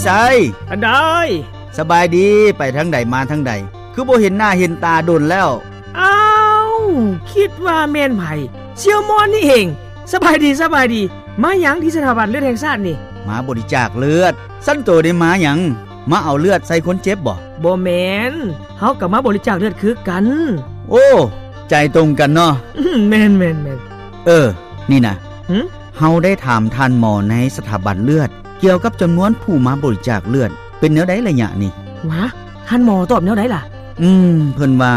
ໄຊ ອັນໃດ? ສະບາຍດີ ໄປທາງໃດມາທາງໃດ ຄືບໍ່ເຫັນໜ້າເຫັນຕາດົນແລ້ວ? ອ້າວ ຄິດວ່າແມ່ນໃຜ? ສ່ຽວມອນນີ້ເອງ. ສະບາຍດີ ສະບາຍດີ. ມາຫຍັງທີ່ສະຖາບັນເລືອດແຫ່ງຊາດນີ້? ມາບໍລິຈາກເລືອດ. ຊັ້ນໂຕໄດ້ມາຫຍັງ? ມາເອົາເລືອດໃສ່ຄົນເຈັບບໍ? ບໍ່ແມ່ນ, ເຮົາກໍມາບໍລິຈາກເລືອດຄືກັນ. ໂອ້ ໃຈຕົງກັນເນາະ. ແມ່ນໆໆ. ເອີ ນີ້ນະ. ຫຶ? ເຮົາໄດ້ຖາມທ່ານໝໍໃນສະຖາບັນເລືອດ ກ່ຽວກັບຈຳນວນຜູ້ມາບໍລິຈາກເລືອດ ເປັນແນວໃດໄລຍະນີ້? ຫວາ? ທ່ານໝໍຕອບແນວໃດລະ? ອືມ ເພິ່ນວ່າ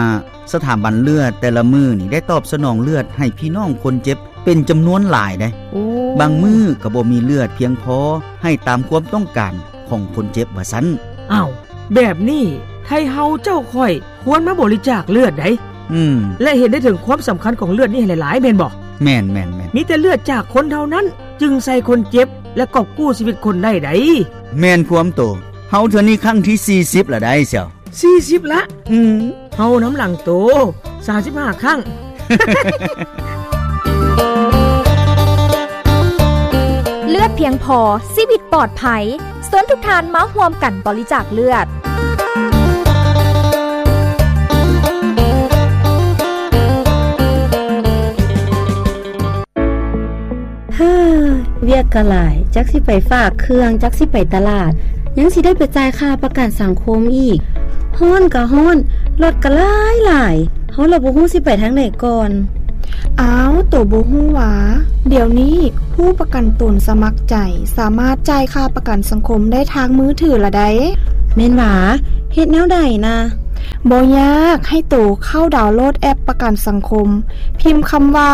ສະຖາບັນເລືອດແຕ່ລະມື້ນີ້ ໄດ້ຕອບສະໜອງເລືອດໃຫ້ພີ່ນ້ອງຄົນເຈັບເປັນຈຳນວນຫຼາຍໃດ໋. ໂອ້ ບາງມື້ກໍບໍ່ມີເລືອດພຽງພໍໃຫ້ຕາມຄວາມຕ້ອງການຂອງຄົນເຈັບວ່າຊັ້ນ. ອ້າວ ແບບນີ້ ໄທເຮົາເຈົ້າຂ້ອຍຄວນມາບໍລິຈາກເລືອດໃດ໋. ອືມ ແລະ ເຫັນໄດ້ເຖິງຄວາມສຳຄັນຂອງເລືອດນີ້ໃຫ້ຫຼາຍໆ ແມ່ນບໍ່? ແມ່ນໆໆ. ມີແຕ່ເລືອດຈາກຄົນເທົ່ານັ້ນ ຈຶ່ງໃສ່ຄົນເຈັບ ແລະ ກອບກູ້ຊີວິດຄົນໄດ້ໃດ໋. ແມ່ນຄວາມໂຕ. ເຮົາເທື່ອນີ້ຄັ້ງທີສີ່ສິບລະໄດ໋ ສ່ຽວ. ສີ່ສິບລະ? ອືມ. ເຮົານຳຫຼັງໂຕ ສາມສິບຫ້າຄັ້ງ. ເລືອດພຽງພໍ ຊີວິດປອດໄພ. ເຊີນທຸກທ່ານມາຮ່ວມກັນບໍລິຈາກເລືອດ. ເຮີ ວຽກກໍຫຼາຍ, ຈັກຊິໄປຝາກເຄື່ອງ, ຈັກຊິໄປຕະຫຼາດ, ຍັງຊິໄດ້ໄປຈ່າຍຄ່າປະກັນສັງຄົມອີກ. ຮ້ອນກໍຮ້ອນ, ລົດກໍຫຼາຍໆ, ເຮົາລະບໍ່ຮູ້ຊິໄປທາງໃດກ່ອນ. ອ້າວ, ໂຕບໍ່ຮູ້ຫວາ? ດຽວນີ້ຜູ້ປະກັນຕົນສະໝັກໃຈສາມາດຈ່າຍຄ່າປະກັນສັງຄົມໄດ້ທາງມືຖືລະໃດ໋. ແມ່ນຫວາ? ເຮັດແນວໃດນະ? ບໍ່ຍາກ, ໃຫ້ໂຕເຂົ້າດາວໂຫຼດແອັບປະກັນສັງຄົມ, ພິມຄຳວ່າ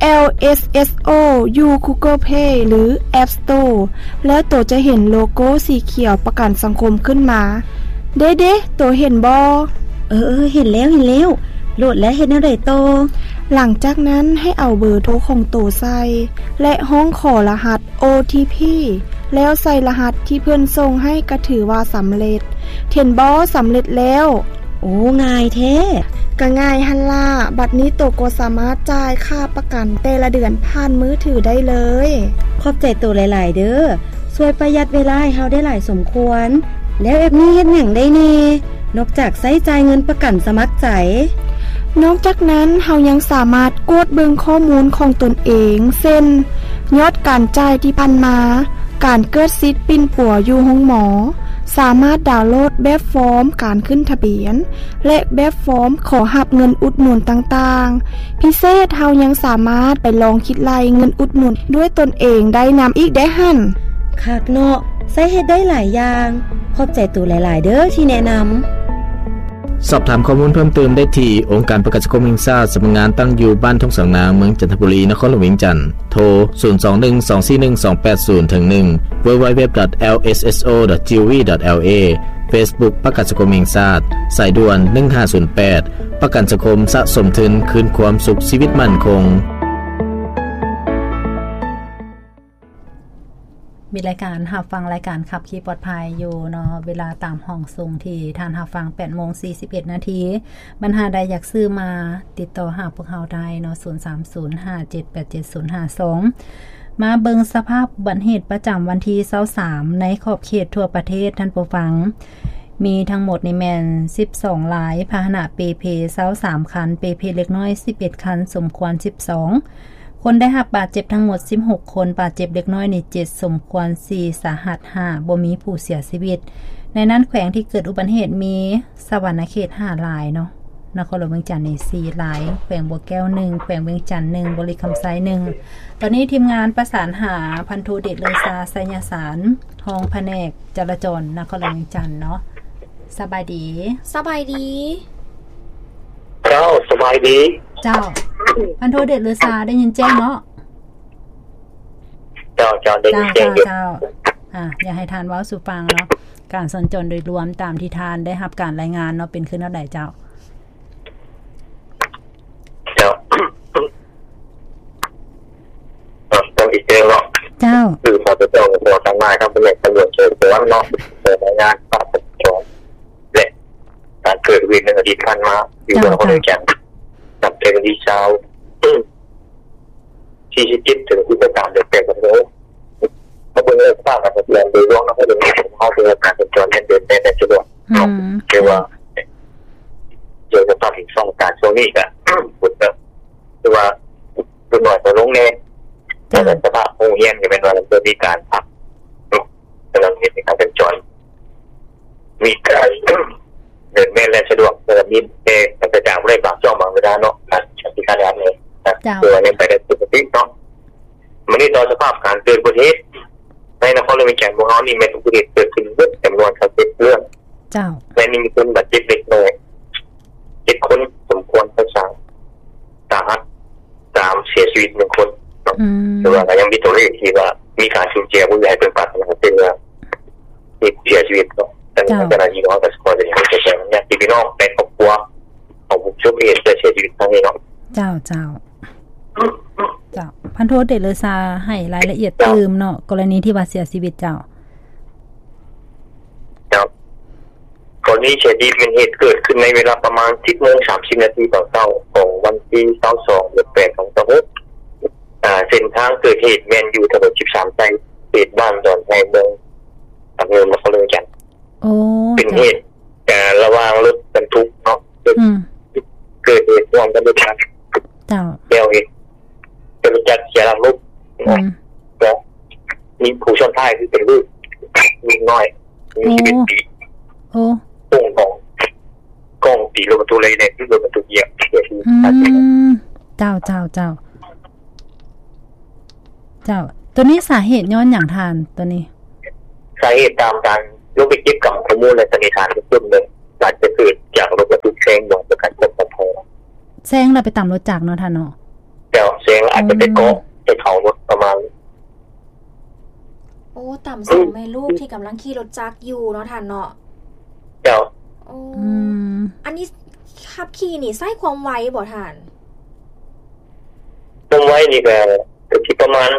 ແອລ ເອສ ເອສ ໂອ ຢູ່ Google Play ຫຼື App Store ແລ້ວໂຕຈະເຫັນໂລໂກ້ສີຂຽວປະກັນສັງຄົມຂຶ້ນມາ. ເດ້ໆ, ໂຕເຫັນບໍ່? ເອີໆ, ເຫັນແລ້ວ, ເຫັນແລ້ວ. ໂຫຼດແລ້ວເຮັດແນວໃດຕໍ່? ຫຼັງຈາກນັ້ນໃຫ້ເອົາເບີໂທຂອງໂຕໃສ່ ແລະ ຮ້ອງຂໍລະຫັດ ໂອ ທີ ພີ ແລ້ວໃສ່ລະຫັດທີ່ເພິ່ນສົ່ງໃຫ້ກໍຖືວ່າສຳເລັດ. ເຫັນບໍ່? ສຳເລັດແລ້ວ. ໂອ້ ງ່າຍແທ້. ກະງ່າຍຫັ້ນລະ. ບັດນີ້ໂຕກໍສາມາດຈ່າຍຄ່າປະກັນແຕ່ລະເດືອນຜ່ານມືຖືໄດ້ເລີຍ. ຂອບໃຈໂຕຫຼາຍໆເດີ້. ຊ່ວຍປະຢັດເວລາໃຫ້ເຮົາໄດ້ຫຼາຍສົມຄວນ. ແລ້ວແອັບນີ້ເຮັດຫຍັງໄດ້ແດ່? ນອກຈາກໃຊ້ຈ່າຍເງິນປະກັນສະໝັກໃຈ. ນອກຈາກນັ້ນ, ເຮົາຍັງສາມາດກວດເບິ່ງຂໍ້ມູນຂອງຕົນເອງ, ເຊັ່ນ ຍອດການຈ່າຍທີ່ຜ່ານມາ, ການເກີດສິດປິ່ນປົວຢູ່ໂຮງໝໍ, ສາມາດດາວໂຫຼດແບບຟອມການຂຶ້ນທະບຽນ ແລະ ແບບຟອມຂໍຮັບເງິນອຸດໜູນຕ່າງໆ. ພິເສດ, ເຮົາຍັງສາມາດໄປລອງຄິດໄລ່ເງິນອຸດໜູນດ້ວຍຕົນເອງໄດ້ນຳອີກເດ້ຫັ້ນ. ຄັກເນາະ, ໃຊ້ເຮັດໄດ້ຫຼາຍຢ່າງ. ຂອບໃຈໂຕຫຼາຍໆເດີ້ທີ່ແນະນຳ. ສອບຖາມຂໍ້ມູນເພີ່ມເຕີມໄດ້ທີ່ ອົງການປະກັນສັງຄົມແຫ່ງຊາດ, ສຳນັກງານຕັ້ງຢູ່ບ້ານທົ່ງສາງນາງ, ເມືອງຈັນທະບູລີ, ນະຄອນຫຼວງວຽງຈັນ. ໂທ ສູນສອງໜຶ່ງ ສອງສີ່ໜຶ່ງ ສອງແປດສູນ ເຖິງ ໜຶ່ງ ดับเบิลยู ดับเบิลยู ดับเบิลยู ດອດ จีโอวี ดอทแอลเอ ເຟສບຸກ ປະກັນສັງຄົມແຫ່ງຊາດ, ສາຍດ່ວນ ໜຶ່ງຫ້າສູນແປດ ປະກັນສັງຄົມ, ສະສົມທຶນ, ຄືນຄວາມສຸກ, ຊີວິດໝັ້ນຄົງ. ມີລາຍການຮັບຟັງລາຍການຂັບຂີ່ປອດໄພຢູ່ເນາະ, ເວລາຕາມຫ້ອງສົ່ງທີ່ທ່ານຮັບຟັງ ແປດໂມງສີ່ສິບເອັດນາທີ. ບັນຫາໃດຢາກຊື້ມາ ຕິດຕໍ່ຫາພວກເຮົາໄດ້ເນາະ, ສູນສາມສູນ ຫ້າເຈັດແປດເຈັດສູນຫ້າສອງ. ມາເບິ່ງສະພາບອຸບັດເຫດປະຈຳວັນທີຊາວສາມ ໃນຂອບເຂດທົ່ວປະເທດ, ທ່ານຜູ້ຟັງ. ມີທັງໝົດນີ້ແມ່ນສິບສອງລາຍ, ພາຫະນະເປ່ເພຊາວສາມຄັນ, ເປ່ເພເລັກນ້ອຍສິບເອັດຄັນ, ສົມຄວນສິບສອງ. ຄົນໄດ້ຮັບບາດເຈັບທັງໝົດສິບຫົກຄົນ, ບາດເຈັບເລັກນ້ອຍນີ້ເຈັດ, ສົມຄວນສີ່, ສາຫັດຫ້າ, ບໍ່ມີຜູ້ເສຍຊີວິດ. ໃນນັ້ນແຂວງທີ່ເກີດອຸບັດເຫດມີສະຫວັນນະເຂດຫ້າລາຍເນາະ, ນະຄອນຫຼວງວຽງຈັນນີ້ສີ່ລາຍ, ແຂວງບໍ່ແກ້ວໜຶ່ງ, ແຂວງວຽງຈັນໜຶ່ງ, ບໍລິຄຳໄຊໜຶ່ງ. ຕອນນີ້ທີມງານປະສານຫາພັນໂທເດດເລີຊາ ໄຊຍະສານ, ຮອງພະແນກຈະລາຈອນນະຄອນຫຼວງວຽງຈັນເນາະ. ສະບາຍດີ. ສະບາຍດີ. ເຈົ້າ, ສະບາຍດີ. ເຈົ້າ. ພັນໂທເດດເລີຊາ ໄດ້ຍິນແຈ້ງເນາະ? ເຈົ້າ, ເຈົ້າ, ໄດ້ຍິນແຈ້ງຢູ່. ເຈົ້າ, ເຈົ້າ. ອ່າ, ຢາກໃຫ້ທ່ານເວົ້າສູ່ຟັງເນາະ, ການສັນຈອນໂດຍລວມຕາມທີ່ທ່ານໄດ້ຮັບການລາຍງານເນາະ, ເປັນຄືແນວໃດເຈົ້າ? ເຈົ້າ. ຕ້ອງອີກເທື່ອເນາະ. ເຈົ້າ. ຄື ປກສ ກໍຂໍທັງຫຼາຍທາງພະແນກຕຳຫຼວດສອບສວນເນາະ, ໄດ້ລາຍງານພາບສອບສວນ ແລະ ການເກີດເຫດໃນອະດີດຜ່ານມາ ຢູ່ເມືອງນະຄອນຫຼວງວຽງຈັນ ນັບແຕ່ວັນທີຊາວ ສີ່ສິບເຈັດ ເຖິງ ສິບສາມ ເດືອນແປດ ມາເບິ່ງເລື່ອງສະພາບການສັນຈອນໂດຍລວມນະຄອນຫຼວງວຽງຈັນ ເຮົາເປັ ຄືວ່າການສັນຈອນແລ່ນເດີນແລ່ນໄດ້ສະດວກເນາະ ອືມ ຄືວ່າ ໂດຍສະເພາະອີກສອງການຊ່ວງນີ້ກະ ຝົນກະຄືວ່າ ຝົນໜ້ອຍກວ່າລົງແດ່ ແລ້ວກະສະພາບໂຮງຮຽນກະແມ່ນວ່າເລີ່ມມີການພັກເນາະ ກຳລັງເຮັດໃຫ້ການສັນຈອນ ມີການ ເດີນແລ່ນສະດວກ ແລ້ວກະມີແຕ່ກະຈາງໄດ້ບາງຊ່ວງບາງເວລາເນາະ ການທີ່ການແລ່ນນີ້ນະ ເຈົ້າ ຄືວ່າຍັງໄປໄດ້ປົກກະຕິເນາະ. ມື້ນີ້ຕໍ່ສະພາບການເກີດອຸບັດຕິເຫດໃນນະຄອນຫຼວງວຽງຈັນຂອງເຮົານີ້ ແມ່ນອຸບັດຕິເຫດເກີດຂຶ້ນເບິດຈຳນວນຊາວເຈັດເລື່ອງ ເຈົ້າ ແລະ ມີຄົນບາດເຈັບເລັກນ້ອຍເຈັດຄົນ ສົມຄວນສາຫັດສາຫັດສາມ ເສຍຊີວິດໜຶ່ງຄົນເນາະ ອືມ ແຕ່ວ່າກະຍັງມີຕົວເລກທີ່ວ່າມີການສູນເສຍ ບໍ່ຢາກໃຫ້ເພິ່ນປາດຖະໜາ ເຊັ່ນວ່າ ມີຜູ້ເສຍຊີວິດເນາະ ເຈົ້າ ເຈົ້າໜ້າທີ່ເຮົາກະຂໍສະແດງຄວາມເສຍໃຈນຳຍາດຕິພີ່ນ້ອງ ແລະ ຄອບຄົວຂອງຜູ້ປະສົບເຫດ ແລະ ເສຍຊີວິດຄັ້ງນີ້ເນາະ ເຈົ້າ ເຈົ້າ ເຈົ້າ ພັນໂທ ເດດເລີຊາ ໃຫ້ລາຍລະອຽດຕື່ມເນາະ ກໍລະນີທີ່ວ່າເສຍຊີວິດ ເຈົ້າ ເຈົ້າ ກໍລະນີເສຍຊີວິດແມ່ນເຫດເກີດຂຶ້ນໃນເວລາປະມານ ສິບໂມງສາມສິບນາທີຕອນເຊົ້າຂອງວັນທີ ຊາວສອງ ເດືອນແປດ ສອງພັນຊາວຫົກ ອາ ເສັ້ນທາງເກີດເຫດແມ່ນຢູ່ຖະໜົນສິບສາມ ໃນເຂດບ້ານດອນໄຮ ເມືອງປາກເງິນ ນະຄອນຫຼວງວຽງຈັນ ໂອ້ ເປັນເຫດການລະຫວ່າງລົດບັນທຸກເນາະ ອືມ ເກີດເຫດຮ່ວມກັບລົດຈັກ ເຈົ້າ ແລ້ວເຫດລົດຈັກເສຍຫຼັກລົ້ມ ອືມ ແລ້ວມີຜູ້ຊ້ອນທ້າຍຄືເປັນລູກ ເດັກນ້ອຍ ອາຍຸ ໂອ້ ສິບເອັດປີ ໂອ້ ໂປ່ງຂອງກ້ອງຕີລົດບັນທຸເລີຍ ແລ້ວລົດບັນທຸຢຽບເສຍຊີວິດ ອືມ ເຈົ້າ ເຈົ້າ ເຈົ້າ ເຈົ້າ ໂຕນີ້ສາເຫດຍ້ອນຫຍັງທ່ານ ໂຕນີ້? ສາເຫດຕາມການລົງໄປເກັບກຳຂໍ້ມູນ ແລະ ສັນນິຖານເບື້ອງຕົ້ນເນາະ ອາດຈະເກີດຈາກລົດບັນທຸກແຊງບໍ່ໃຫ້ປະກັນຄວາມປອດໄພ ແຊງແລ້ວໄປຕຳລົດຈັກເນາະທ່ານເນາະ ເຈົ້າ ແຊງແລ້ວອາດຈະໄປເກາະ ອືມ ໄປເຂົ້າລົດປະມານ ໂອ້ ຕຳສອງແມ່ລູກທີ່ກຳລັງຂີ່ລົດຈັກຢູ່ເນາະທ່ານເນາະ ເຈົ້າ ໂອ້ ອືມ ອັນນີ້ຂັບຂີ່ນີ້ໃຊ້ຄວາມໄວບໍ່ທ່ານ? ຄວາມໄວນີ້ກະ ກະຊິປະມານ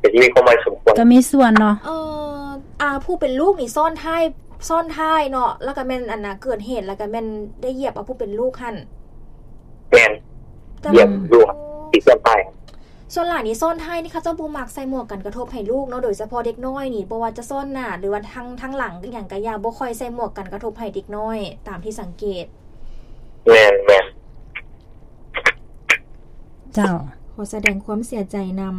ກະຊິມີຄວາມໄວສົມຄວນ ກະມີສ່ວນເນາະ ເອີ ອ່າ ຜູ້ເປັນລູກນີ້ຊ້ອນທ້າຍ ຊ້ອນທ້າຍເນາະ ແລ້ວກະແມ່ນ ອັນນ່າ ເກີດເຫດ ແລ້ວກະແມ່ນໄດ້ຢຽບເອົາຜູ້ເປັນລູກຫັ້ນ ແມ່ນ ຢຽບລູກ ໂອ້ ທີ່ຊ້ອນທ້າຍ ສ່ວນຫຼາຍນີ້ຊ້ອນທ້າຍນີ້ ເຂົາເຈົ້າບໍ່ມັກໃສ່ໝວກກັນກະທົບໃຫ້ລູກເນາະ ໂດຍສະເພາະເດັກນ້ອຍນີ້ ບໍ່ວ່າຈະຊ້ອນໜ້າ ຫຼືວ່າທາງ ທາງຫຼັງອີ່ຫຍັງກະຢ່າ ບໍ່ຄ່ອຍໃສ່ໝວກກັນກະທົບໃຫ້ເດັກນ້ອຍ ຕາມທີ່ສັງເກດ ແມ່ນ ແມ່ນ ເຈົ້າ ຂໍສະແດງຄວາມເສຍໃຈນຳ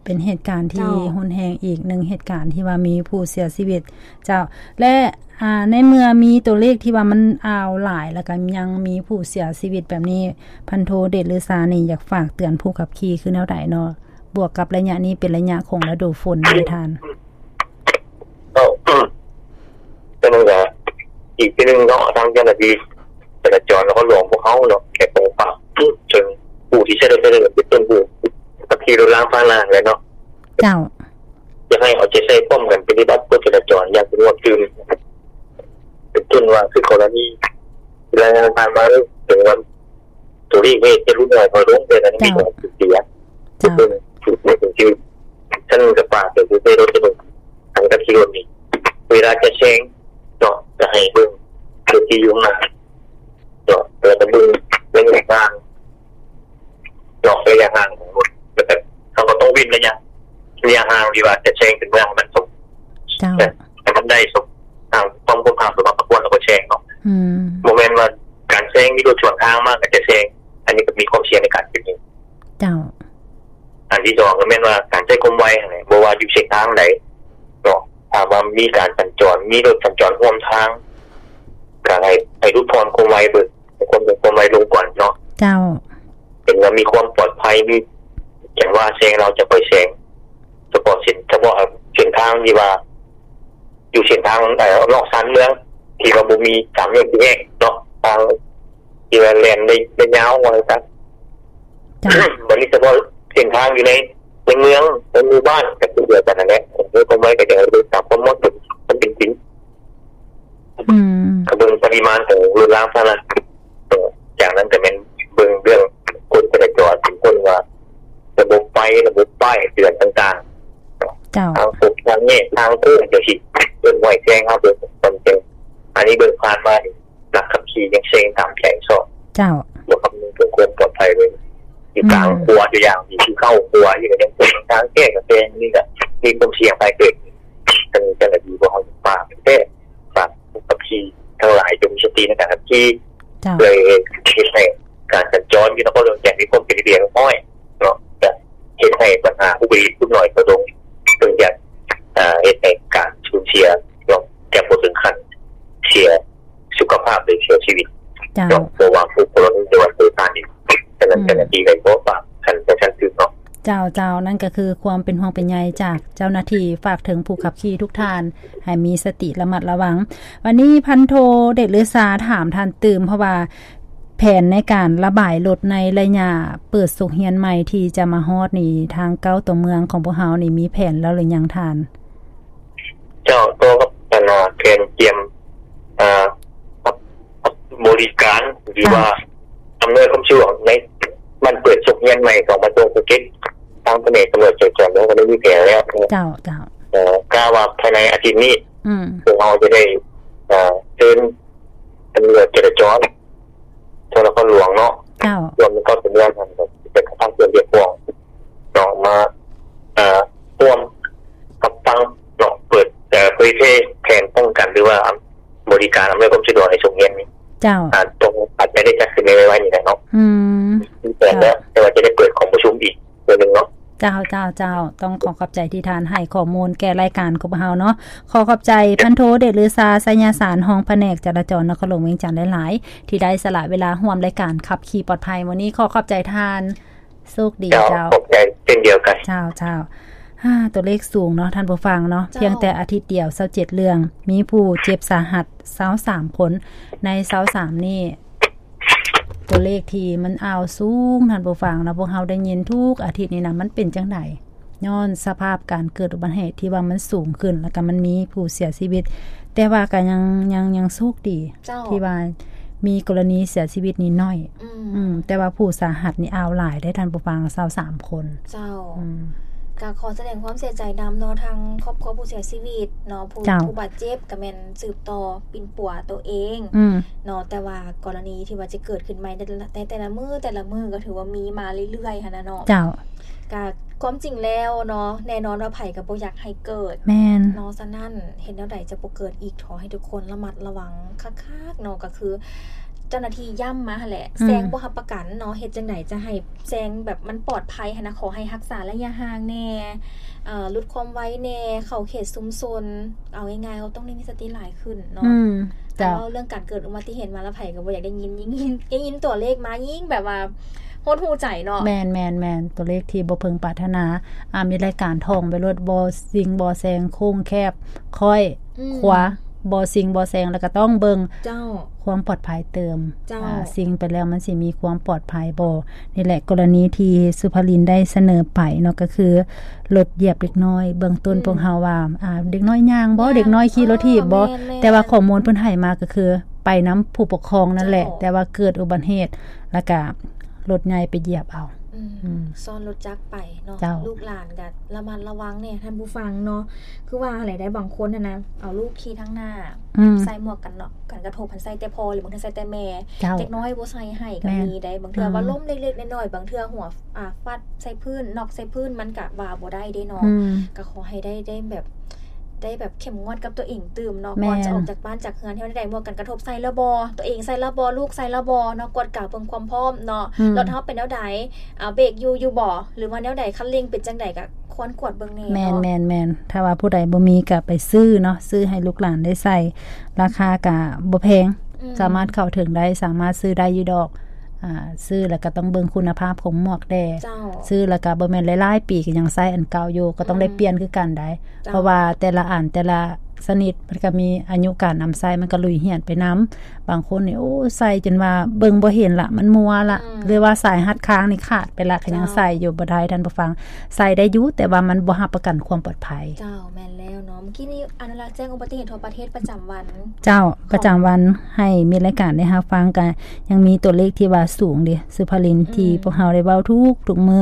ເປັນເຫດການທີ່ ເຈົ້າ ຮຸນແຮງອີກໜຶ່ງເຫດການທີ່ວ່າມີຜູ້ເສຍຊີວິດ ເຈົ້າ ແລະ ອ່າ ໃນເມື່ອມີຕົວເລກທີ່ວ່າມັນອາວຫຼາຍ ແລ້ວກະຍັງມີຜູ້ເສຍຊີວິດແບບນີ້ ພັນໂທ ເດດລືຊານີ້ ຢາກຝາກເຕືອນຜູ້ຂັບຂີ່ຄືແນວໃດເນາະ? ບວກກັບໄລຍະນີ້ເປັນໄລຍະຂອງລະດູຝົນເດທ່ານ. ເຈົ້າ ແຕ່ມັນກະອີກທີໜຶ່ງເນາະ ທາງເຈົ້າໜ້າທີ່ຈະລາຈອນນະຄອນຫຼວງພວກເຮົາເນາະ ແຂວງກຳແພງເປັນຕົ້ນຜູ້ທີ່ໃຊ້ລົດໃຊ້ຖະໜົນ ເປັນຕົ້ນຜູ້ຂັບຂີ່ລົດລາງພາຫະນະແຫຼະເນາະ. ເຈົ້າ ຢາກໃຫ້ເອົາໃຈໃສ່ພ້ອມກັນປະຕິບັດກົດຈະລາຈອນຢ່າງເຂັ້ມງວດຕື່ມ ເປັນຕົ້ນວ່າຄືກໍລະນີລາຍງານຜ່ານມາເລີຍ ເຖິງວ່າ ຕົວເລກນີ້ຈະຫຼຸດໜ້ອຍຖອຍລົງ ແຕ່ກໍຍັງມີການສູນເສຍ. ເຈົ້າ ເປັນຕົ້ນ ຄື ຊັ້ນກໍຝາກເຖິງຜູ້ໃຊ້ລົດໃຊ້ຖະໜົນ ທັງຂັບຂີ່ລົດນີ້ ເວລາຈະແຊງເນາະ ກໍໃຫ້ເບິ່ງລົດທີ່ຢູ່ຂ້າງໜ້າເນາະ ແລ້ວກໍເບິ່ງໄລຍະຫ່າງເນາະ ໄລຍະຫ່າງຂອງລົດ ແລ້ວກໍເຮົາກໍຕ້ອງເວັ້ນໄລຍະ ໄລຍະຫ່າງທີ່ວ່າຈະແຊງເປັນເມືອງໃຫ້ມັນສົມ ເຈົ້າ ໃຫ້ມັນໄດ້ສົມ ຫ່າງຄວາມ ຄວາມຫ່າງສົມມາພາຄວນ ແລ້ວກໍແຊງເນາະ. ອືມ ບໍ່ແມ່ນວ່າການແຊງມີລົດສວນທາງມາກໍຈະແຊງ ອັນນີ້ກໍມີຄວາມສ່ຽງໃນການເປັນເຫດ. ເຈົ້າ ອັນທີສອງກໍແມ່ນວ່າການໃຊ້ຄວາມໄວຫັ້ນແຫຼະ ບໍ່ວ່າຢູ່ເສັ້ນທາງໃດເນາະ ຖ້າວ່າມີການສັນຈອນ ມີລົດສັນຈອນຮ່ວມທາງ ກໍໃຫ້ ໃຫ້ຫຼຸດຜ່ອນຄວາມໄວເບິ່ງ ໃຫ້ຄວາມ ຄວາມໄວລົງກ່ອນເນາະ. ເຈົ້າ ເຫັນວ່າມີຄວາມປອດໄພ ມີຈັງຫວະແຊງ ເຮົາຈະຄ່ອຍແຊງ ສະເພາະເສັ້ນ ສະເພາະເສັ້ນທາງທີ່ວ່າ ຢູ່ເສັ້ນທາງ ເອີ ນອກຊານເມືອງ ທີ່ວ່າບໍ່ມີສາມແຍກສີ່ແຍກເນາະ ທາງທີ່ວ່າແລ່ນໄດ້ ໄດ້ຍາວວ່າຊັ້ນ. ເຈົ້າ ບັດນີ້ສະເພາະເສັ້ນທາງຢູ່ໃນ ໃນເມືອງ ໃນໝູ່ບ້ານ ກໍຄືດຽວກັນນັ້ນແຫຼະ ເອີ ຄວາມໄວກໍຈະເບິ່ງຕາມຄວາມເໝາະສົມ ຄວາມເປັນຈິງ. ອືມ ກໍເບິ່ງປະລິມານຂອງລົດລາງພາຫະນະ ເອີ ຈາກນັ້ນກໍແມ່ນເບິ່ງເລື່ອງກົດຈະລາຈອນ ເປັນຕົ້ນວ່າລະບົບໄຟ ລະບົບປ້າຍເຕືອນຕ່າງໆ ເຈົ້າ ທາງໂຄ້ງທາງແຍກ ທາງໂຄ້ງຈັ່ງຊີ້ ເອີ້ນໄວ້ແຊງ ເຮົາເບິ່ງຄວາມເປັນ ອັນນີ້ເບິ່ງຜ່ານມານີ້ ນັກຂັບຂີ່ຍັງແຊງຕາມໃຈຊອກ ເຈົ້າ ບໍ່ຄຳນຶງເຖິງຄວາມປອດໄພເລີຍ ຢູ່ກາງ ອືມ ຂົວ ຕົວຢ່າງທີ່ເຂົ້າຂົວຢູ່ ກໍຍັງແຊງ ທາງແຍກກໍແຊງ ນີ້ກໍມີຄວາມສ່ຽງໄພເກີດ ທາງເຈົ້າໜ້າທີ່ພວກເຮົາ ທັງຫຼາຍຈົ່ງມີສະຕິໃນການຂັບຂີ່ ເຈົ້າ ເພື່ອເຮັດໃຫ້ການສັນຈອນຢູ່ນະຄອນຫຼວງວຽງຈັນມີຄວາມເປັນລະບຽບຮຽບຮ້ອຍເນາະ ຈະເຮັດໃຫ້ບັນຫາອຸບັດຕິເຫດຫຼຸດໜ້ອຍລົງ ເຊິ່ງຈະ ເຮັດໃຫ້ການສູນເສຍເນາະ ຈະບໍ່ເຖິງຂັ້ນເສຍສຸຂະພາບ ຫຼື ເສຍຊີວິດ ເຈົ້າ ເນາະ ບໍ່ວ່າຜູ້ຄົນ ຫຼືວ່າໂດຍສານນີ້ ສະນັ້ນ ເຈົ້າ ເຈົ້າໜ້າທີ່ກໍຂໍຝາກຂັ້ນ ຂັ້ນສູງເນາະ. ເຈົ້າ ເຈົ້າ ນັ້ນກໍຄືຄວາມເປັນຫ່ວງເປັນໃຍຈາກເຈົ້າໜ້າທີ່ ຝາກເຖິງຜູ້ຂັບຂີ່ທຸກທ່ານ ໃຫ້ມີສະຕິລະມັດລະວັງ. ວັນນີ້ພັນໂທເດດລືຊາຖາມທ່ານຕື່ມ ເພາະວ່າແຜນໃນການລະບາຍລົດໃນໄລຍະເປີດສົກຮຽນໃໝ່ທີ່ຈະມາຮອດນີ້ ທາງເກົ້າຕົວເມືອງຂອງພວກເຮົານີ້ມີແຜນແລ້ວຫຼືຍັງທ່ານ? ເຈົ້າ ຕໍ່ກັບອັນນາແຜນກຽມ ເອີ ຮັບ ຮັບບໍລິການ ຫຼືວ່າ ເຈົ້າ ອຳນວຍຄວາມສະດວກໃນວັນເປີດສົກຮຽນໃໝ່ຂອງກະຊວງສຶກສາທິການ ທາງພະແນກຕຳຫຼວດຈະກຽມກໍໄດ້ມີແຜນແລ້ວ. ເຈົ້າ ເຈົ້າ ເອີ ກະວ່າພາຍໃນອາທິດນີ້ ອືມ ພວກເຮົາຈະໄດ້ ເອີ ເຊີນຕຳຫຼວດຈະລາຈອນ ທົ່ວນະຄອນຫຼວງເນາະ ເຈົ້າ ລວມເຂົ້າເປັນເລື່ອງ ເປັນການຕັ້ງເຂື່ອນເຊກອງເນາະ ມາ ເອີ ຮ່ວມຮັບຟັງເນາະ ເປີດ ເອີ ເຜີຍແຜ່ແຜນປ້ອງກັນ ຫຼືວ່າບໍລິການອຳນວຍຄວາມສະດວກໃຫ້ໂຮງຮຽນນີ້ ເຈົ້າ ອາດຕ້ອງ ອາດຈະໄດ້ຈັດຂຶ້ນໃນໄວໆນີ້ແຫຼະເນາະ. ອືມ ມີແຜນແລ້ວ ເຈົ້າ ແຕ່ວ່າຈະໄດ້ເປີດກອງປະຊຸມອີກເທື່ອໜຶ່ງເນາະ. ເຈົ້າ ເຈົ້າ ເຈົ້າ ຕ້ອງຂໍຂອບໃຈທີ່ທ່ານໃຫ້ຂໍ້ມູນແກ່ລາຍການຂອງພວກເຮົາເນາະ. ຂໍຂອບໃຈພັນໂທເດດລືຊາ ໄຊຍະສານ ຮອງພະແນກຈະລາຈອນນະຄອນຫຼວງວຽງຈັນຫຼາຍໆ ທີ່ໄດ້ສະຫຼະເວລາຮ່ວມລາຍການຂັບຂີ່ປອດໄພມື້ນີ້. ຂໍຂອບໃຈທ່ານ. ໂຊກດີເຈົ້າ. ເຈົ້າ ຂອບໃຈເຊັ່ນດຽວກັນ. ເຈົ້າ ເຈົ້າ. ອາ ຕົວເລກສູງເນາະທ່ານຜູ້ຟັງເນາະ. ເຈົ້າ. ພຽງແຕ່ອາທິດດຽວ ຊາວເຈັດເລື່ອງ ມີຜູ້ເຈັບສາຫັດ ຊາວສາມຄົນ. ໃນຊາວສາມນີ້ ຕົວເລກທີ່ມັນອາວສູງທ່ານຜູ້ຟັງເນາະ ພວກເຮົາໄດ້ຍິນທຸກອາທິດນີ້ນະ ມັນເປັນຈັ່ງໃດ? ຍ້ອນສະພາບການເກີດອຸບັດຕິເຫດທີ່ວ່າມັນສູງຂຶ້ນ ແລ້ວກໍມັນມີຜູ້ເສຍຊີວິດ ແຕ່ວ່າກໍຍັງ ຍັງ ຍັງໂຊກດີ ເຈົ້າ ທີ່ວ່າມີກໍລະນີເສຍຊີວິດນີ້ໜ້ອຍ. ອືມ ອືມ ແຕ່ວ່າຜູ້ສາຫັດນີ້ອາວຫຼາຍເດ້ທ່ານຜູ້ຟັງ ຊາວສາມຄົນ. ເຈົ້າ. ອືມ ກໍຂໍສະແດງຄວາມເສຍໃຈນຳເນາະ ທາງຄອບຄົວຜູ້ເສຍຊີວິດເນາະ ຜູ້ ເຈົ້າ ຜູ້ບາດເຈັບກໍແມ່ນສືບຕໍ່ປິ່ນປົວໂຕເອງ ອືມ ເນາະ ແຕ່ວ່າກໍລະນີທີ່ວ່າຈະເກີດຂຶ້ນໃໝ່ໃນແຕ່ລະມື້ ແຕ່ລະມື້ກໍຖືວ່າມີມາເລື້ອຍໆຫັ້ນນະເນາະ. ເຈົ້າ. ກະຄວາມຈິງແລ້ວເນາະ ແນ່ນອນວ່າໃຜກໍບໍ່ຢາກໃຫ້ເກີດ ແມ່ນ ເນາະ. ສະນັ້ນ ເຮັດແນວໃດຈະບໍ່ເກີດອີກ ຂໍໃຫ້ທຸກຄົນລະມັດລະວັງຄັກໆເນາະ. ກໍຄືເຈົ້າໜ້າທີ່ຢ້ຳມາຫັ້ນແຫຼະ ອືມ ແຊງບໍ່ຮັບປະກັນເນາະ ເຮັດຈັ່ງໃດຈະໃຫ້ແຊງແບບມັນປອດໄພຫັ້ນນະ ຂໍໃຫ້ຮັກສາໄລຍະຫ່າງແດ່ ເອີ ຫຼຸດຄວາມໄວແດ່ ເຂົ້າເຂດຊຸມຊົນ ເອົາງ່າຍໆ ເຮົາຕ້ອງໄດ້ມີສະຕິຫຼາຍຂຶ້ນເນາະ. ອືມ ເຈົ້າ. ເວົ້າເລື່ອງການເກີດອຸບັດຕິເຫດມາແລ້ວ ໃຜກໍບໍ່ຢາກໄດ້ຍິນ ຍິ່ງ ຍິ່ງ ໄດ້ຍິນຕົວເລກມາຍິ່ງແບບວ່າຫົດຫູ່ໃຈເນາະ. ແມ່ນໆໆ ຕົວເລກທີ່ບໍ່ເພິ່ງປາດຖະໜາ. ອາ ມີລາຍການທ່ອງໄປໂລດ ບໍ່ຊິງບໍ່ແຊງ ໂຄ້ງແຄບ ຄ້ອຍ ອືມ ຂວາ ບໍ່ຊິງບໍ່ແຊງ ແລ້ວກໍຕ້ອງເບິ່ງ ເຈົ້າ ຄວາມປອດໄພຕື່ມ. ເຈົ້າ. ອາ ຊິງໄປແລ້ວມັນຊິມີຄວາມປອດໄພບໍ່? ນີ້ແຫຼະ ກໍລະນີທີ່ສຸພາລິນໄດ້ສະເໜີໄປເນາະ ກໍຄືລົດຢຽບເດັກນ້ອຍ ເບື້ອງຕົ້ນ ອືມ ພວກເຮົາວ່າ ອາ ເດັກນ້ອຍຍ່າງບໍ່? ເອີ ເດັກນ້ອຍຂີ່ລົດຖີບບໍ່? ແມ່ນໆ ແຕ່ວ່າຂໍ້ມູນເພິ່ນໃຫ້ມາກໍຄືໄປນຳຜູ້ປົກຄອງນັ້ນແຫຼະ ເຈົ້າ ແຕ່ວ່າເກີດອຸບັດຕິເຫດ ແລ້ວກະລົດໃຫຍ່ໄປຢຽບເອົາ. ອືມ ອືມ ຊ້ອນລົດຈັກໄປເນາະ. ເຈົ້າ. ລູກຫຼານກະລະມັດລະວັງແດ່ທ່ານຜູ້ຟັງເນາະ. ຄືວ່າຫັ້ນແຫຼະ ໄດ້ບາງຄົນຫັ້ນນະ ເອົາລູກຂີ່ທາງໜ້າ ອືມ ໃສ່ໝວກກັນນັອກ ກັນກະທົບຫັ້ນໃສ່ແຕ່ພໍ່ ຫຼືບາງເທື່ອໃສ່ແຕ່ແມ່. ເຈົ້າ. ເດັກນ້ອຍບໍ່ໃສ່ໃຫ້ກໍມີໄດ໋. ບາງເທື່ອ ອືມ ວ່າລົ້ມເລັກໆນ້ອຍໆ ບາງເທື່ອຫົວ ອ່າ ຟາດໃສ່ພື້ນ ນັອກໃສ່ພື້ນ ມັນກະວ່າບໍ່ໄດ້ເດ້ເນາະ. ອືມ ກໍຂໍໃຫ້ໄດ້ ໄດ້ແບບ ໄດ້ແບບເຂັ້ມງວດກັບຕົວເອງຕື່ມເນາະ. ແມ່ນ. ກ່ອນຈະອອກຈາກບ້ານຈາກເຮືອນ ເຮົາໄດ້ໝວກກັນກະທົບໃສ່ແລ້ວບໍ່? ຕົວເອງໃສ່ແລ້ວບໍ່? ລູກໃສ່ແລ້ວບໍ່ເນາະ? ກວດກາເບິ່ງຄວາມພ້ອມເນາະ. ອືມ ລົດເຮົາເປັນແນວໃດ? ອ່າ ເບຣກຢູ່ ຢູ່ບໍ່? ຫຼືວ່າແນວໃດ? ຄັນເລັ່ງເປັນຈັ່ງໃດ? ກະຄວນກວດເບິ່ງແດ່ເນາະ. ແມ່ນໆໆ. ຖ້າວ່າຜູ້ໃດບໍ່ມີກະໄປຊື້ເນາະ, ຊື້ໃຫ້ລູກຫຼານໄດ້ໃສ່. ລາຄາກະບໍ່ແພງ. ອືມ ສາມາດເຂົ້າເຖິງໄດ້, ສາມາດຊື້ໄດ້ຢູ່ດອກ. ອ່າ ຊື້ແລ້ວກໍຕ້ອງເບິ່ງຄຸນນະພາບຂອງໝວກແດ່. ເຈົ້າ. ຊື້ແລ້ວກໍບໍ່ແມ່ນຫຼາຍໆປີກໍຍັງໃຊ້ອັນເກົ່າຢູ່, ກໍຕ້ອງໄດ້ ອືມ ປ່ຽນຄືກັນໄດ໋. ເຈົ້າ. ເພາະວ່າແຕ່ລະອັນ ແຕ່ລະຊະນິດ ມັນກໍມີອາຍຸການນຳໃຊ້, ມັນກໍຫຼຸຍເຫື່ອຍໄປນຳ. ບາງຄົນນີ້ ໂອ້ ໃສ່ຈົນວ່າເບິ່ງບໍ່ເຫັນລະ, ມັນມົວລະ. ອືມ. ຫຼືວ່າສາຍຮັດຄາງນີ້ຂາດໄປລະ, ກໍຍັງ ເຈົ້າ ໃສ່ຢູ່ ບໍ່ໄດ້ ທ່ານຜູ້ຟັງ. ໃສ່ໄດ້ຢູ່, ແຕ່ວ່າມັນບໍ່ຮັບປະກັນຄວາມປອດໄພ. ເຈົ້າ, ແມ່ນແລ້ວເນາະ. ເມື່ອກີ້ນີ້ອະນຸລັກແຈ້ງອຸບັດຕິເຫດທົ່ວປະເທດປະຈຳວັນ ເຈົ້າ ຂອງ ປະຈຳວັນໃຫ້ມິດລາຍການໄດ້ຮັບຟັງ, ກະຍັງມີຕົວເລກທີ່ວ່າສູງເດ ສຸພາລິນ ອືມ ທີ່ພວກເຮົາໄດ້ເວົ້າທຸກໆມື້.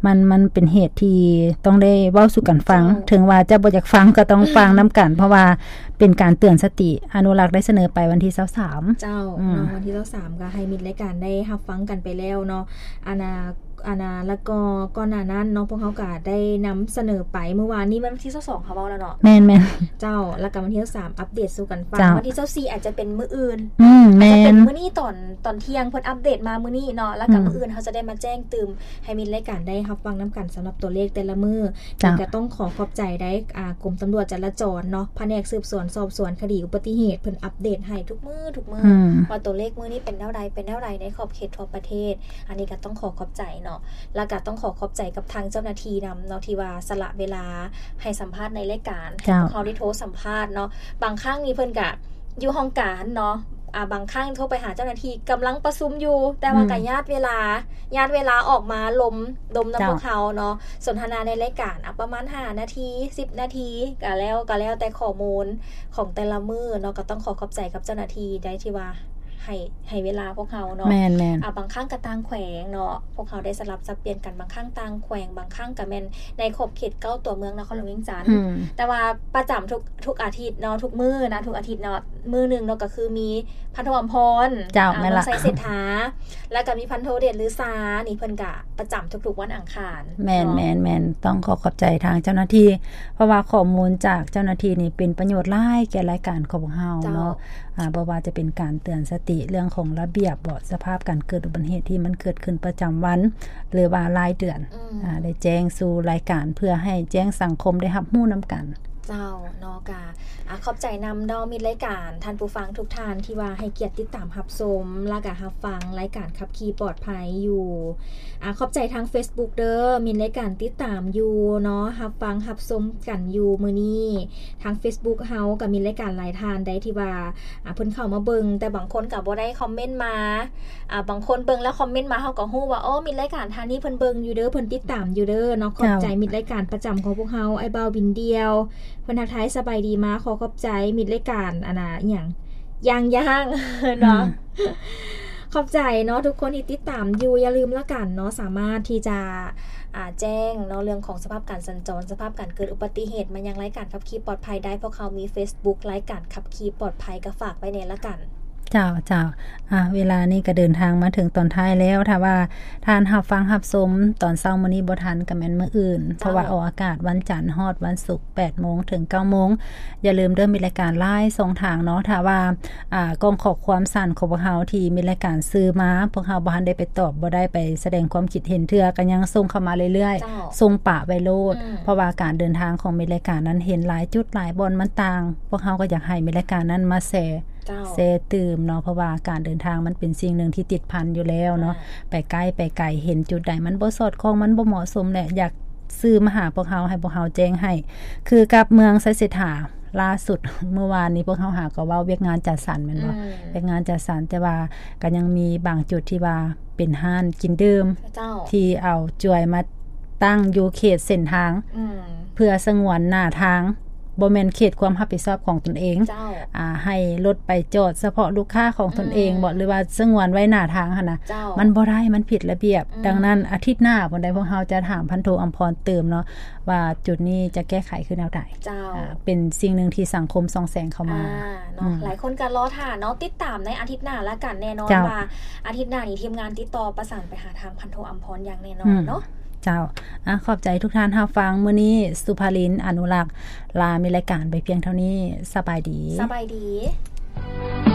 ມັນ ມັນເປັນເຫດທີ່ຕ້ອງໄດ້ເວົ້າສູ່ກັນຟັງ. ເຈົ້າ. ເຖິງວ່າຈະບໍ່ຢາກຟັງກໍຕ້ອງ ອືມ ຟັງນຳກັນ, ເພາະວ່າເປັນການເຕືອນສະຕິ. ອະນຸລັກໄດ້ສະເໜີໄປວັນທີຊາວສາມ. ເຈົ້າ. ອືມ. ເນາະ, ວັນທີຊາວສາມກໍໃຫ້ມິດລາຍການໄດ້ຮັບຟັງກັນໄປແລ້ວເນາະ. ອັນນ່າ ອັນນ່າ ແລ້ວກໍກ່ອນໜ້ານັ້ນເນາະ ພວກເຮົາກໍໄດ້ນຳສະເໜີໄປ ມື້ວານນີ້ແມ່ນວັນທີຊາວສອງ ເຮົາເວົ້າແລ້ວເນາະ. ແມ່ນໆ ເຈົ້າ ແລ້ວກໍວັນທີຊາວສາມອັບເດດສູ່ກັນຟັງ. ເຈົ້າ ວັນທີຊາວສີ່ອາດຈະເປັນມື້ອື່ນ. ອືມ ອາດຈະເປັນ ແມ່ນ ມື້ນີ້ຕອນ ຕອນທ່ຽງ ເພິ່ນອັບເດດມາມື້ນີ້ເນາະ ແລ້ວກໍ ອືມ ມື້ອື່ນເຮົາຈະໄດ້ມາແຈ້ງຕື່ມໃຫ້ມິດລາຍການໄດ້ຮັບຟັງນຳກັນສຳລັບຕົວເລກແຕ່ລະມື້. ເຈົ້າ ນີ້ກໍຕ້ອງຂໍຂອບໃຈໄດ້ ອ່າ ກົມຕຳຫຼວດຈະລາຈອນເນາະ ພະແນກສືບສວນສອບສວນຄະດີອຸບັດຕິເຫດ ເພິ່ນອັບເດດໃຫ້ທຸກມື້ ທຸກມື້ ອືມ ວ່າຕົວເລກມື້ນີ້ເປັນແນວໃດ ເປັນແນວໃດໃນຂອບເຂດທົ່ວປະເທດ. ອັນນີ້ກໍຕ້ອງຂໍຂອບໃຈເນາະ ແລ້ວກໍຕ້ອງຂໍຂອບໃຈກັບທາງເຈົ້າໜ້າທີ່ນຳເນາະ ທີ່ວ່າສະຫຼະເວລາໃຫ້ສຳພາດໃນລາຍການ ໃຫ້ ເຈົ້າ ພວກເຮົາໄດ້ໂທສຳພາດເນາະ. ບາງຄັ້ງນີ້ເພິ່ນກະຢູ່ຫ້ອງການເນາະ ອາ ບາງຄັ້ງໂທໄປຫາເຈົ້າໜ້າທີ່ກຳລັງປະຊຸມຢູ່ ແຕ່ວ່າ ອືມ ກະຍາດເວລາ ຍາດເວລາອອກມາລົມ ລົມນຳ ເຈົ້າ ພວກເຮົາເນາະ ສົນທະນາໃນລາຍການ ອາ ປະມານຫ້ານາທີ ສິບນາທີ ກະແລ້ວ ກະແລ້ວແຕ່ຂໍ້ມູນຂອງແຕ່ລະມື້ເນາະ. ກໍຕ້ອງຂໍຂອບໃຈກັບເຈົ້າໜ້າທີ່ໄດ້ທີ່ວ່າ ໃຫ້ ໃຫ້ເວລາພວກເຮົາເນາະ. ແມ່ນໆ ອາ ບາງຄັ້ງກໍຕ່າງແຂວງເນາະ ພວກເຮົາໄດ້ສະຫຼັບສັບປ່ຽນກັນ ບາງຄັ້ງຕ່າງແຂວງ ບາງຄັ້ງກໍແມ່ນໃນຂອບເຂດເກົ້າຕົວເມືອງນະຄອນຫຼວງວຽງຈັນ. ອືມ ແຕ່ວ່າປະຈຳທຸກ ທຸກອາທິດເນາະ ທຸກມື້ນະ ທຸກອາທິດເນາະ ມື້ໜຶ່ງເນາະ ກໍຄືມີພັນໂທອຳພອນ ເຈົ້າ ອາ ແມ່ນລະ ເມືອງໄຊເສດຖາ ແລ້ວກໍມີພັນໂທເດດລືສາ ນີ້ເພິ່ນກະປະຈຳທຸກໆວັນອັງຄານ. ແມ່ນໆໆ ຕ້ອງຂໍຂອບໃຈທາງເຈົ້າໜ້າທີ່ ເພາະວ່າຂໍ້ມູນຈາກເຈົ້າໜ້າທີ່ນີ້ເປັນປະໂຫຍດຫຼາຍແກ່ລາຍການຂອງພວກເຮົາເນາະ. ເຈົ້າ ອາ ບໍ່ວ່າຈະເປັນການເຕືອນສະຕິເລື່ອງຂອງລະບຽບບໍ ສະພາບການເກີດອຸບັດຕິເຫດທີ່ມັນເກີດຂຶ້ນປະຈຳວັນ ຫຼືວ່າລາຍເດືອນ ອືມ ອາ ໄດ້ແຈ້ງສູ່ລາຍການ ເພື່ອໃຫ້ແຈ້ງສັງຄົມໄດ້ຮັບຮູ້ນຳກັນ. ເຈົ້າ ເນາະ ກະ ອາ ຂອບໃຈນຳເນາະ ມິດລາຍການ ທ່ານຜູ້ຟັງທຸກທ່ານທີ່ວ່າໃຫ້ກຽດຕິດຕາມຮັບຊົມ ແລ້ວກະຮັບຟັງລາຍການຂັບຂີ່ປອດໄພຢູ່. ອາ ຂອບໃຈທາງເຟສບຸກເດີ ມິດລາຍການຕິດຕາມຢູ່ເນາະ ຮັບຟັງຮັບຊົມກັນຢູ່ມື້ນີ້. ທາງເຟສບຸກເຮົາກໍມີລາຍການຫຼາຍທ່ານໃດທີ່ວ່າ ອາ ເພິ່ນເຂົ້າມາເບິ່ງ ແຕ່ບາງຄົນກໍບໍ່ໄດ້ຄອມເມັນມາ. ອາ ບາງຄົນເບິ່ງແລ້ວຄອມເມັນມາ ເຮົາກໍຮູ້ວ່າ ໂອ້ ມິດລາຍການທ່ານນີ້ເພິ່ນເບິ່ງຢູ່ເດີ ເພິ່ນຕິດຕາມຢູ່ເດີເນາະ. ເຈົ້າ ຂອບໃຈມິດລາຍການປະຈຳຂອງພວກເຮົາ ອ້າຍບ່າວບິນດ່ຽວ ເພິ່ນທັກທາຍສະບາຍດີມາ ຂໍຂອບໃຈມິດລາຍການ ອັນນ່າ ອີ່ຫຍັງ ຢ່າງ ຢ່າງ ເນາະ. ອືມ ຂອບໃຈເນາະ ທຸກຄົນທີ່ຕິດຕາມຢູ່ ຢ່າລືມລະກັນເນາະ ສາມາດທີ່ຈະ ອາ ແຈ້ງເນາະ ເລື່ອງຂອງສະພາບການສັນຈອນ ສະພາບການເກີດອຸບັດຕິເຫດມາຍັງລາຍການຂັບຂີ່ປອດໄພໄດ້. ພວກເຮົາມີເຟສບຸກ ລາຍການຂັບຂີ່ປອດໄພ ກໍຝາກໄວ້ແດ່ລະກັນ. ເຈົ້າ ເຈົ້າ ອາ ເວລານີ້ກໍເດີນທາງມາເຖິງຕອນທ້າຍແລ້ວ. ຖ້າວ່າທ່ານຮັບຟັງຮັບຊົມຕອນເຊົ້າມື້ນີ້ບໍ່ທັນ ກໍແມ່ນມື້ອື່ນ ເຈົ້າ ເພາະວ່າອອກອາກາດວັນຈັນຮອດວັນສຸກ ແປດໂມງເຖິງເກົ້າໂມງ. ຢ່າລືມເດີ ມີລາຍການຫຼາຍຊ່ອງທາງເນາະ. ຖ້າວ່າ ອາ ກ້ອງຂໍ້ຄວາມສັ້ນຂອງພວກເຮົາທີ່ມີລາຍການຊື່ມາ ພວກເຮົາບໍ່ທັນໄດ້ໄປຕອບ ບໍ່ໄດ້ໄປສະແດງຄວາມຄິດເຫັນເທື່ອ ກໍຍັງສົ່ງເຂົ້າມາເລື້ອຍໆ ເຈົ້າ ສົ່ງປະໄວ້ໂລດ. ອືມ ເພາະວ່າການເດີນທາງຂອງມີລາຍການນັ້ນເຫັນຫຼາຍຈຸດຫຼາຍບ່ອນມັນຕ່າງ ພວກເຮົາກໍຢາກໃຫ້ມີລາຍການນັ້ນມາແຊ ເຈົ້າ ແຊຕື່ມເນາະ ເພາະວ່າການເດີນທາງມັນເປັນສິ່ງໜຶ່ງທີ່ຕິດພັນຢູ່ແລ້ວເນາະ. ອ່າ ໄປໃກ້ໄປໄກ ເຫັນຈຸດໃດມັນບໍ່ສອດຄ່ອງ ມັນບໍ່ເໝາະສົມແຫຼະ ຢາກຊື່ມາຫາພວກເຮົາ ໃຫ້ພວກເຮົາແຈ້ງໃຫ້. ຄືກັບເມືອງໄຊເສດຖາ ລ່າສຸດ ມື້ວານນີ້ພວກເຮົາຫາກໍເວົ້າວຽກງານຈັດສັນແມ່ນບໍ່? ອືມ ວຽກງານຈັດສັນ ແຕ່ວ່າກໍຍັງມີບາງຈຸດທີ່ວ່າເປັນຮ້ານກິນດື່ມ ເຈົ້າ ທີ່ເອົາຈວຍມາຕັ້ງຢູ່ເຂດເສັ້ນທາງ ອືມ ເພື່ອສະຫງວນໜ້າທາງ ບໍ່ແມ່ນເຂດຄວາມຮັບຜິດຊອບຂອງຕົນເອງ. ເຈົ້າ ອາ ໃຫ້ລົດໄປຈອດສະເພາະລູກຄ້າຂອງຕົນເອງ ອືມ ບໍ ຫຼືວ່າສະຫງວນໄວ້ໜ້າທາງຫັ້ນນະ. ເຈົ້າ ມັນບໍ່ໄດ້ ມັນຜິດລະບຽບ. ອືມ ດັ່ງນັ້ນ ອາທິດໜ້າພຸ້ນໃດ ພວກເຮົາຈະຖາມພັນໂທອຳພອນຕື່ມເນາະ ວ່າຈຸດນີ້ຈະແກ້ໄຂຄືແນວໃດ. ເຈົ້າ ອາ ເປັນສິ່ງໜຶ່ງທີ່ສັງຄົມສ່ອງແສງເຂົ້າມາ. ອາ ເນາະ ອືມ ຫຼາຍຄົນກໍລໍຖ້າເນາະ ຕິດຕາມໃນອາທິດໜ້າລະກັນ. ແນ່ນອນ ເຈົ້າ ວ່າອາທິດໜ້ານີ້ທີມງານຕິດຕໍ່ປະສານໄປຫາທາງພັນໂທອຳພອນຢ່າງແນ່ນອນເນາະ. ອືມ ເຈົ້າ ອາ ຂອບໃຈທຸກທ່ານຮັບຟັງ. ມື້ນີ້ສຸພາລິນ ອະນຸລັກ ລາມິດລາຍການໄປພຽງເທົ່ານີ້. ສະບາຍດີ. ສະບາຍດີ.